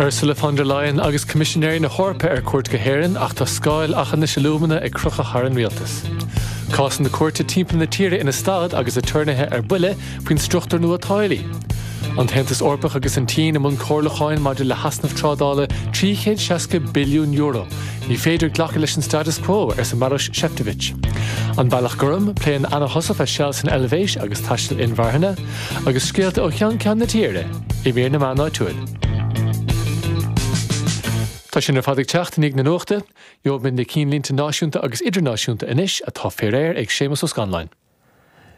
Ursula von der Leyen agus Coimisinéirí na hEorpa ar cuairt go hÉirinn ach tá scáil Aughinish Alumina ag crochadh thar an rialtas. Cásanna cúirte timpeall na tíre ina stad agus aturnaetha ar buile faoin struchtúr nua táillí. An tAontas Eorpach agus an tSín i mbun comhairliúcháin maidir le heasnamh trádála €360 billiún. Ní féidir glacadh leis an status quo, arsa Maroš Šefčovič. An Bealach Gorm, Pléann Anna Heussaff a seal san Eilvéis agus taisteal inmharthana, agus scéalta ó cheann ceann na tíre i mír na meán áitiúil. Tá sin ar fad ag teacht i ndiaidh na nuachta. Gheobhaimid na cinnlínte náisiúnta agus idirnáisiúnta anois, atá fé réir ag Séamus Ó Scanláin.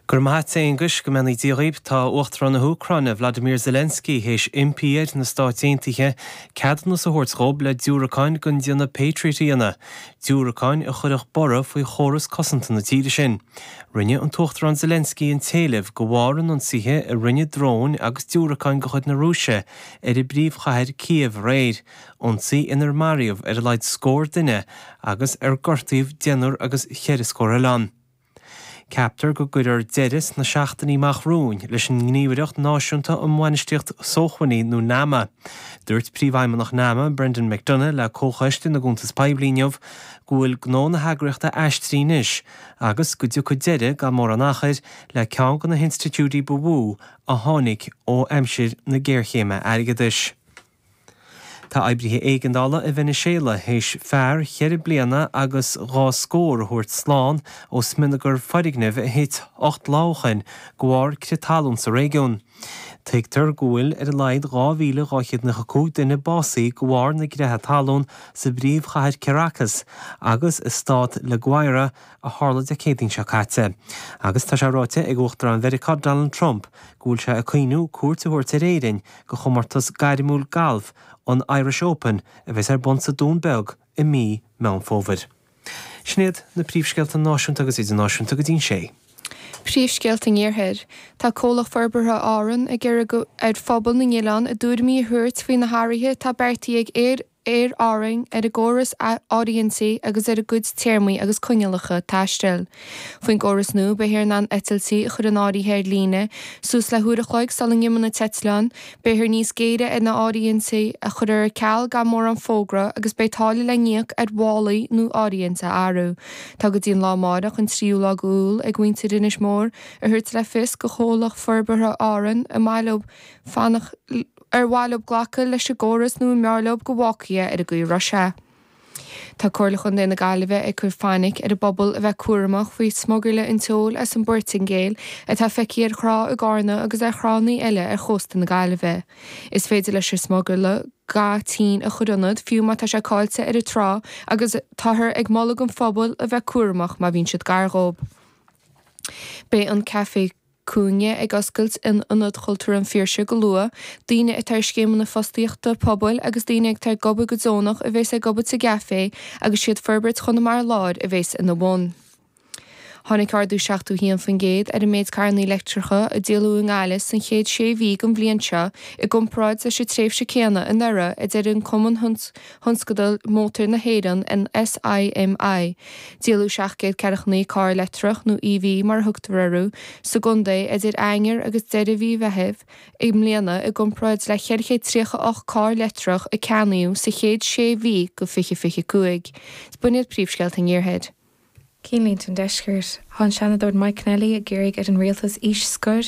Go raibh maith a't, a Aonghuis, go mbeannaí Dia dhaoib. Tá Uachtarán na hÚcráine, Vladimir Zelensky, théis impí ar na Stáit Aontaithe ceadúnas a thabhairt dhób le diúracáin den déanamh Patriot a dhéanamh, diúracáin a chuirfeadh borradh faoi chóras cosanta na tíre sin. Rinne an tUachtarán Zelensky an t-éileamh de bharr an ionsaithe a rinne dróin agus diúracáin de chuid na Rúise ar an bpríomhchathair Kyiv aréir, ionsaí inar maraíodh ar a laghad scór duine agus ar gortaíodh deichniúr agus cheithre scór eile ann. Ceaptar go gcuirfear deireadh sna seachtainí amach romhainn leis an nGníomhaireacht Náisiúnta um Bhainistíocht Sócmhainní nó NAMA. Dúirt Príomhfheidhmeannach NAMA, Brendan McDonagh le Comhchoiste na gCuntas Poiblí inniu go bhfuil gnó na heagraíochta aistrithe anois agus go dtiocfaidh deireadh gan mórán achair le ceann de na hinstitiúidí ba mhó a tháinig ó aimsir na géarchéime airgeadais. Tá oibrithe éigeandála i Veiniséala théis fear cheithre bliana agus dhá scór a thabhairt slán ó smionagar foirgnimh a thit 8 lá ó shin de bharr crith talún sa réigiún. Tuigtear go bhfuil ar a laghad 2,295 duine básaithe de bharr na gcreatha talún sa bpríomhchathair Caracas agus i stát La Guaira a tharla Dé Céadaoin seo caite. Agus tá sé ráite ag Uachtarán Mheiriceá Donald Trump go bhfuil sé ag cuimhniú cuairt a thabhairt ar Éirinn do chomórtas gairmiúil gailf an Irish Open a bheas ar bun sa Dún Beag i mí Meán Fómhair. Sin iad na príomhscéalta náisiúnta agus idirnáisiúnta go dtí'n sé. Príomhscéalta an Iarthair. Tá Comhlacht Forbartha Árann ag iarraidh ar phobal na n-oileán a dtuairimí a thabhairt faoi na hathruithe atá beartaithe ag Aer Aer Árann ar a gcóras áirithintí agus ar a gcuid téarmaí agus coinníollacha taistil. Faoin gcóras nua, beifear in ann eitiltí a chur in áirithe ar líne suas le huair a chloig sula n-imíonn an t-eitleán, beifear níos géire ar na áirithintí a chur ar ceal gan mórán fógra agus beidh táille le n-íoc ar mhálaí nó áirithint a athrú. Tá go dtí an lá amárach, an tríú lá d'Iúil, ag muintir Inis Mór a thabhairt le fios go Chomhlacht Forbartha Árann an maith leo fanacht ar mhaith leo glacadh leis an gcóras nó an mb'fhearr leo go bhfágfaí é ar an gcaoi a raibh sé. Tá Comhairle Chontae na Gaillimhe ag cur fainic ar an bpobal a bheith cúramach faoi smugairle an tseoil as an bPortaingéil atá feicthe ar thrá i gCarna agus ar thránna eile ar chósta na Gaillimhe. Is féidir leis an smugairle ga tinn a chur ionat fiú má tá sé caillte ar an trá agus táthar ag moladh don phobal a bheith cúramach má bhíonn siad gar dhóibh. Beidh an Café Cúinne ag oscailt in Ionad Chultúir an Phiarsaigh go luath. Daoine atá ar scéimeanna fostaíochta pobail agus daoine atá ag obair go deonach a bheas ag obair sa gcaifé agus siad Forbairt Chonamara Láir a bheas ina bhun. Tháinig ardú 71% ar an méid carranna leictreacha a díoladh i nGaillimh san chéad sé mhí den bhliain seo i gcomparáid leis an tréimhse céanna anuraidh, a deir an Cumann Thionscadal Mótair na hÉireann, an SIMI. Díoladh 749 carr leictreach, nó EV mar a thugtar orthu, sa gcontae idir Eanáir agus deireadh mhí Mheithimh i mbliana i gcomparáid le 438 carr leictreach a ceannaíodh sa chéad sé mhí de 2025. B'in iad príomhscéalta an Iarthair. Cinnlínte an Deiscirt. Tá an Seanadóir Mike Keneally ag iarraidh ar an rialtas aois scoir.